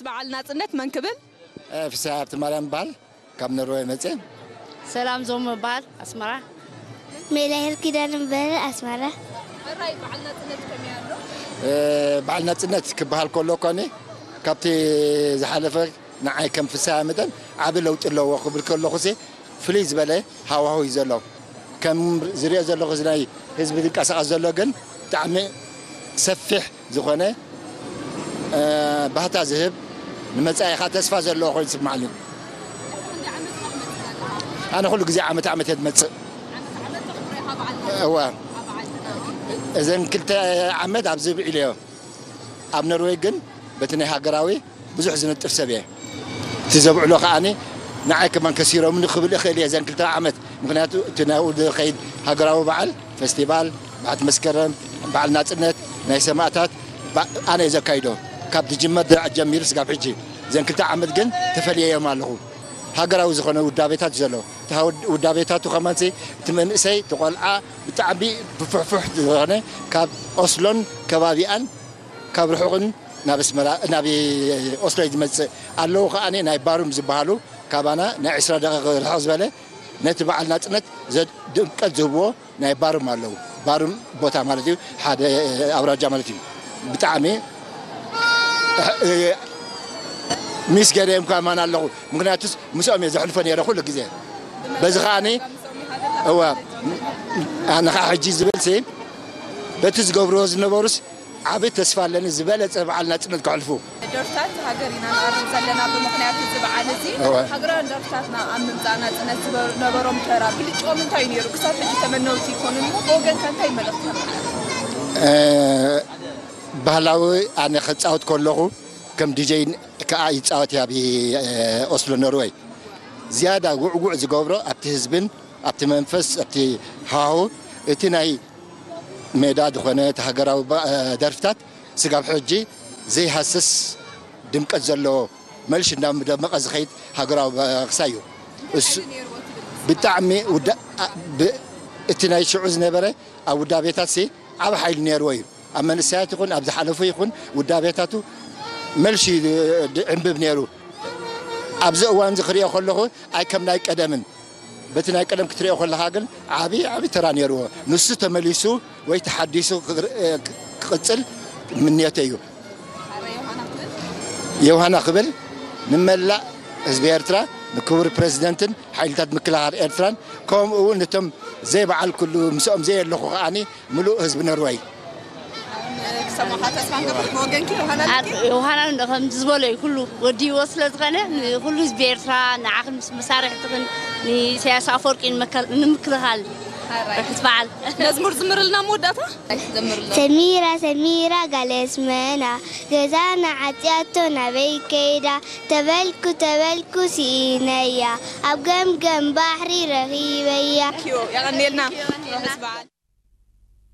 በዓል ናጽነት መን ክብል? ፍስሃ ሃብተማርያም እበሃል፣ ካብ ኖርወይ መፅእ። ሰላም ዞም እበሃል፣ ኣስመራ። ሜላሄል ኪዳነ እበሃል፣ ኣስመራ። ሕራይ በዓል ናጽነት ከመይ ኣሎ? በዓል ናፅነት ክበሃል ከሎ ኮኒ ካብቲ ዝሓለፈ ንዓይ ከም ፍስሃ መጠን ዓቢ ለውጢ ኣለዎ ክብል ከለኹ ፍልይ ዝበለ ሃዋሁ እዩ ዘሎ። ከም ዝሪኦ ዘለኹ እዚ ናይ ህዝቢ ዝንቀሳቐስ ዘሎ ግን ብጣዕሚ ሰፊሕ ዝኾነ ባህታ ዝህብ፣ ንመፃኢኻ ተስፋ ዘለዎ ኮይኑ ይስምዓኒ። ኣነ ኩሉ ግዜ ዓመት ዓመት እየ ዝመፅእ። እዋ፣ እዘን ክልተ ዓመት ኣብዚ ብዒለዮ። ኣብ ኖርወይ ግን በቲ ናይ ሃገራዊ ብዙሕ ዝነጥፍ ሰብ እየ። እቲ ዘብዕሎ ከዓኒ ንዓይ ከማን ከሲሮምኒ ክብል እኽእል እየ እዘን ክልተ ዓመት። ምኽንያቱ እቲ ናብኡ ዝኸይድ ሃገራዊ በዓል፣ ፈስቲቫል፣ በዓቲ መስከረም፣ በዓል ናጽነት፣ ናይ ሰማእታት ኣነ እየ ዘካይዶ። ካብ ዝጅመር ድራዕ ጀሚሩ ስጋብ ሕጂ እዘን ክልተ ዓመት ግን ተፈልየዮም ኣለኹ። ሃገራዊ ዝኾነ ውዳቤታት እዩ ዘሎ። እቲ ውዳቤታቱ ከማንሲ እቲ መንእሰይ እቲ ቆልዓ ብጣዕሚ ብፍሕፉሕ ዝኾነ ካብ ኦስሎን ከባቢኣን ካብ ርሑቕን ናብ ኣስመራ ናብ ኦስሎ እዩ ዝመፅእ ኣለዉ። ከዓኒ ናይ ባሩም ዝበሃሉ ካባና ናይ ዕስራ ደቂቕ ርሕቕ ዝበለ ነቲ በዓል ናፅነት ድምቀት ዝህብዎ ናይ ባሩም ኣለዉ። ባሩም ቦታ ማለት እዩ፣ ሓደ ኣውራጃ ማለት እዩ። ብጣዕሚ ሚስ ገይረዮም ከማን ኣለኹ። ምክንያቱስ ምስኦም እየ ዘሕልፎ ነይረ ኩሉ ግዜ። በዚ ከዓኒ እዋ ኣነ ከዓ ሕጂ ዝብል ሲ በቲ ዝገብርዎ ዝነበሩስ ዓቢ ተስፋ ኣለኒ ዝበለፀ በዓል ናፅነት ከሕልፉ። ደርፍታት ሃገር ኢና ንቐርብ ዘለና ብምኽንያት እዚ በዓል እዚ። እወ። ሃገራውያን ደርፍታትና ኣብ ምምፃእ ናፅነት ዝነበሮም ተራ ብልጭኦም እንታይ እዩ ነይሩ? ክሳብ ሕጂ ተመነውቲ ይኮኑ እሞ ብወገንካ እንታይ መልእኽቲ ተመሓላልፍ? ባህላዊ ኣነ ክፃወት ከለኹ ከም ዲጀይ ከዓ ይፃወት እየ ኣብ ኦስሎ ኖርወይ። ዝያዳ ውዕውዕ ዝገብሮ ኣብቲ ህዝብን ኣብቲ መንፈስ ኣብቲ ሃሁ እቲ ናይ ሜዳ ዝኾነ እቲ ሃገራዊ ደርፍታት ስጋብ ሕጂ ዘይሃስስ ድምቀት ዘለዎ መልሽ እንዳደመቐ ዝኸይድ ሃገራዊ በቕሳ እዩ። እሱ ብጣዕሚ እቲ ናይ ሽዑ ዝነበረ ኣብ ውዳቤታት ሲ ዓብ ሓይሊ ነይርዎ እዩ። ኣብ መንእሰያት ይኹን ኣብ ዝሓለፉ ይኹን ውዳቤታቱ መልሽ ዕንብብ ነይሩ። ኣብዚ እዋን እዚ ክሪኦ ከለኹ ኣይ ከም ናይ ቀደምን በቲ ናይ ቀደም ክትሪኦ ከለኻ ግን ዓቢ ዓቢ ተራ ነይርዎ። ንሱ ተመሊሱ ወይ ተሓዲሱ ክቕጽል ምንዮተይ እዩ። የውሃና ክብል ንመላእ ህዝቢ ኤርትራ ንክቡር ፕረዚደንትን ሓይልታት ምክልኻል ኤርትራን ከምኡ እውን ነቶም ዘይበዓል ኩሉ ምስኦም ዘየለኹ ከዓኒ ምሉእ ህዝቢ ነርወይ። ክሰማኻ ተስፋ ንገብር ብወገንኪ ዮሃና ኣለኪ? ዮሃና ከም ዝበሎ እዩ ኩሉ ወዲዎ ስለ ዝኾነ ንኩሉ ህዝቢ ኤርትራ ንዓኽን ምስ መሳርሕትኽን ንኢሳያስ ኣፈወርቂ ንምክልኻል ርሑስ በዓል። መዝሙር ዝምርልና መወዳእታ? ሰሚራ ሰሚራ ጋል ኣስመራ ገዛና ዓጽያቶ ናበይ ከይዳ ተበልኩ ተበልኩ ስኢነያ ኣብ ገምገም ባሕሪ ረኺበያ። የቐንየልና። ርሑስ በዓል።